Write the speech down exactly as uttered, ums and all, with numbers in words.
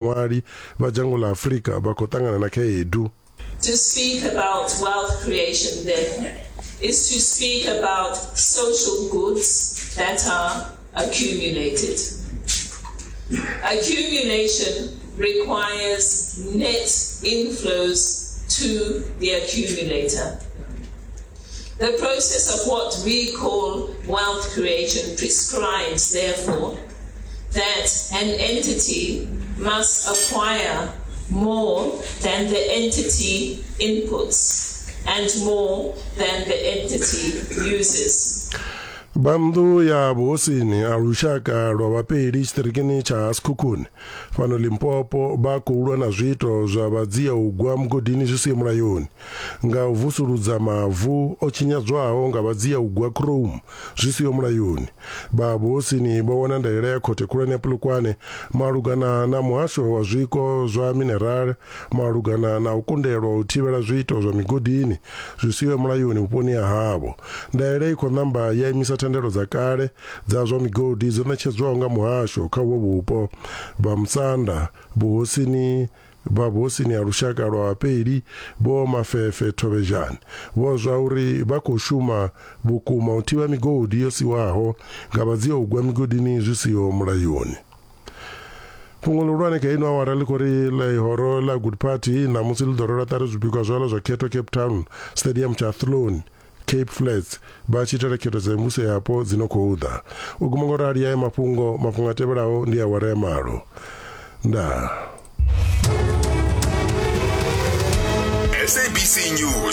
Vhaṅwali vha dzhango ḽa Afrika vha khou ṱangana na khaedu. To speak about wealth creation then is to speak about social goods that are accumulated. Accumulation requires net inflows to the accumulator. The process of what we call wealth creation prescribes, therefore, that an entity must acquire more than the entity inputs and more than the entity uses. Vha nnḓu ya vhuhosini a lushaka lwa Vhapedi tshiṱirikini tsha Sekhukhune fhano Limpopo vha khou lwa na zwiito zwa vhadzia u gwa mugodini zwi siho mulayoni nga u vusuludza mavu o tshinyadzwaho nga vhadzia u gwa chrome zwi siho mulayoni. Vha vhuhosini vho wana ndaela ya khothe khulwane ya Polokwane malugana na muhasho wa zwiko zwa minerale malugana na u kundelwa u thivhela zwiito zwa migodini zwi siho mulayoni vhuponi ha havho. Ndaela i khou namba ya imisa thendelo dza kale dza zwa migodi dzo ṋetshedzwaho nga muhasho kha uvho vhupo. Vha Musanda vhuhosini vha vhuhosini ha lushaka lwa Vhapedi Vho Mafefe Thobejane vho zwa uri vha khou shuma vhukuma u thivha migodi yo siwaho nga vhadzia u gwa migodini zwi siho mulayoni. Fhungo ḽihulwane kha ino awara ḽi khou ri ḽihoro ḽa Good Party ṋamusi ḽi ḓo rwela ṱari zwipikwa zwaḽo zwa khetho Cape Town Stadium tsha Athlone Cape Flats vha tshi itela khetho dza mivhuso yapo dzi no khou ḓa. U guma ngo rali haya mafhungo, mafhungo a tevhelaho ndi awara ya malo. Ndaa. S A B C News.